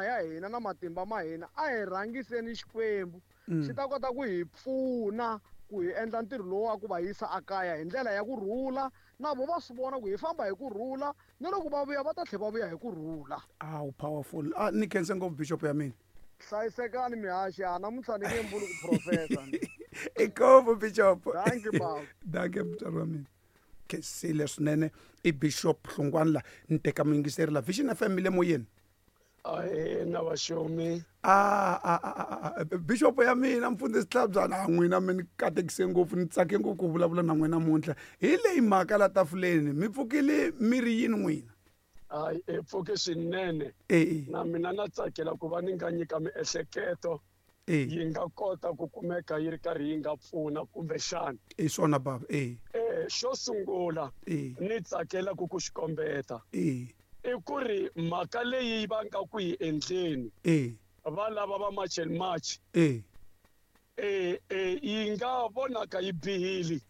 ya hina na matimba ma hina a hi rhangiseni Xikwembu xi ta kota ku hi pfuna ku hi endla ntirho lowu wa ku va yisa akaya hi ndlela ya ku rhula na vo va swi vona ku hi famba hi ku rhula na loko va vuya va ta tlhela va vuya hi ku rhula. Awu powerful. A ni khense ngopfu bishop ya mina. Hlayisekani mihaxi a namuntlha ni nge mbuli ku professor. Inkomu bishop. Dankie baba. Dankie mutswari wa mina. Khensile swinene i bishop Hlungwani la ni teka muyingiseri la Vision FM mi le moyeni. Ahee na vaxomi. A a a a bishop ya mina mfundhisi Tlhabyana a n'wina mi ni katekise ngopfu ni tsake ngopfu ku vulavula na n'wina namuntlha hi leyi mhaka la tafuleni mi pfukile mi ri yini n'wina. Hayi hi pfuke swinene na mina na tsakela ku va ni nga nyika miehleketo yi nga kota ku kumeka yi ri karhi yi nga pfuna kumbexana. I swona baba e. Xo sungula ni tsakela ku ku xi kombeta i ku ri mhaka leyi va nga ku yi endleni va lava va March and March yi nga vonaka yi bihile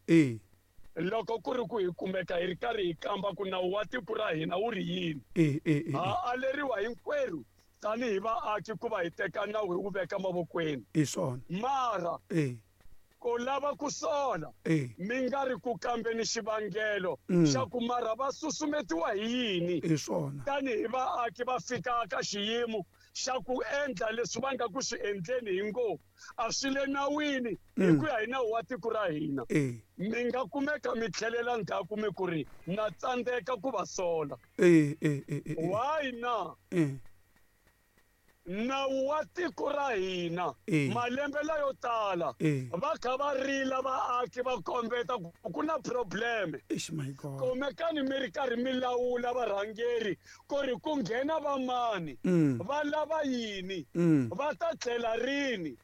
loko ku ri ku hi kumeka hi ri karhi hi kamba ku nawu wa tiko ra hina wu ri yini. Ha aleriwa hinkwerhu tanihi vaaki ku va hi teka nawu hi wu veka mavokweni. I swona. Mara ku lava ku sola mi nga ri ku kambeni xivangelo xa ku mara va susumetiwa hi yini I swona. tanihi vaaki va fika ka xiyimo xa ku endla leswi va nga ku swi endleni hi ngo a swi le nawini hi ku ya hi nawu wa tiko ra hina. Mi nga kumeka mi tlhelela ndzhaku mi ku ri na tsandzeka ku va sola. Why na? Nawu wa tiko ra hina malembe layo tala va kha va rila vaaki va kombeta ku ku na problem. Kumekani mi ri karhi mi lawula varhangeri ku ri ku nghena va mani va lava yini va ta tlhela rini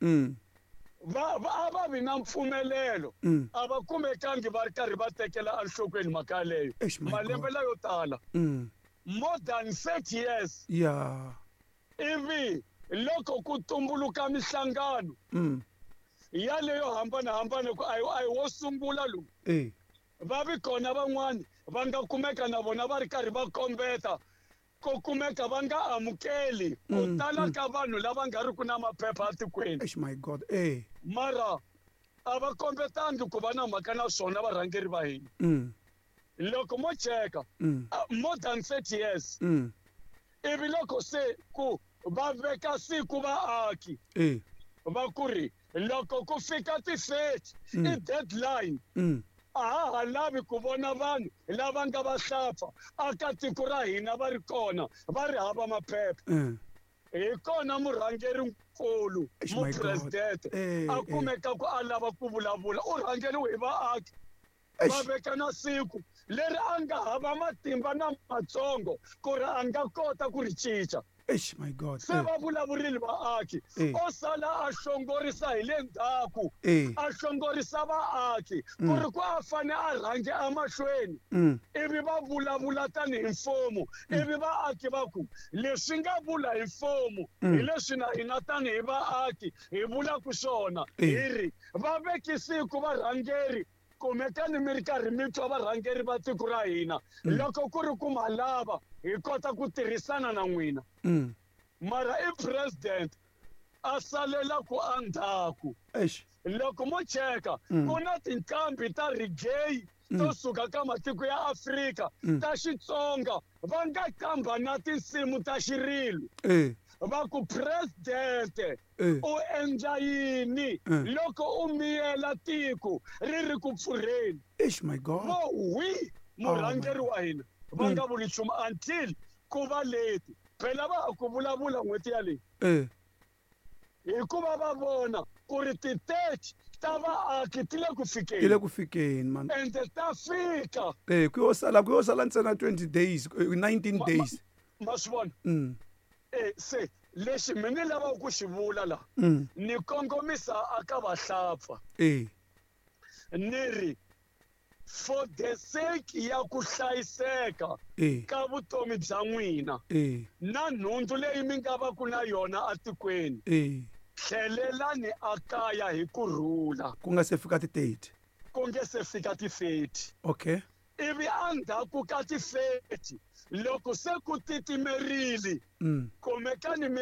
va a va vi na mpfumelelo a va kumekangi va ri karhi va tekela enhlokweni mhaka yaleyo malembe layo tala more than 30 years. Ivi loko ku tumbuluka mihlangano yaleyo hambanahambana ku a hi wo sungula lowu va vi kona van'wani va nga kumeka na vona va ri karhi va kombeta ko kumeka va nga amukeli ku tala ka vanhu lava nga ri ku na maphepha etikweni. My God. Mara a va kombetangi ku va na mhaka na swona varhangeri va hina. Loko mo cheka more than 30 years ivi loko se ku va veka siku vaaki va ku ri loko ku fika ti-30 i deadline a ha ha lavi ku vona vanhu lava nga va hlapfa aka tiko ra hina va ri kona va ri hava maphepha. Hi kona murhangerinkulu mupresidente a kumeka ku a lava ku vulavula u rhangeriwe hi vaaki va veka na siku leri a nga hava matimba na matsongo ku ri a nga kota ku ri cinca. My God. Se va vulavurile vaaki o sala a hlongorisa hi le ndzhaku a hlongorisa vaaki ku ri ku a fane a rhange emahlweni ivi va vulavula tanihi mfumo ivi vaaki va ku leswi nga vula hi mfumo hi leswi na hina tanihi vaaki hi vulaka swona hi ri va veki siku varhangeri kumekani mi ri karhi mi twa varhangeri va tiko ra hina loko ku ri ku ma lava hi kota ku tirhisana na n'wina. Mara i president a salela ku endzhaku. Loko mo cheka ku na tinqambi ta reggae to suka ka matiko ya Afrika ta Xitsonga va nga qamba na tinsimu ta xirilo va ku president u endla yini loko u miyela tiko ri ri ku pfurheni. My God. Vo wi murhangeri wa hina va nga vuli nchumu until ku va leti phela va ha ku vulavula n'hweti yaleyi hikuva va vona ku ri ti-30 ta vaaki ti le ku fikeni. Ti le ku fikeni man. Ende ta fika. Ku yo sala ntsena 20 days 19 days. Ma swi vona? Se lexi mi ni lavaka ku xi vula la ni kongomisa aka vahlapfa. Ni ri for the sake ya ku hlayiseka ka vutomi bya n'wina na nhundzu leyi mi nga va ku na yona atikweni tlhelelani akaya hi ku rhula ku nga se fika ti-30 ku nge se fika ti-30. Okay. Ivi endzhaku ka ti-30 loko se ku titimerile kumekani mi ri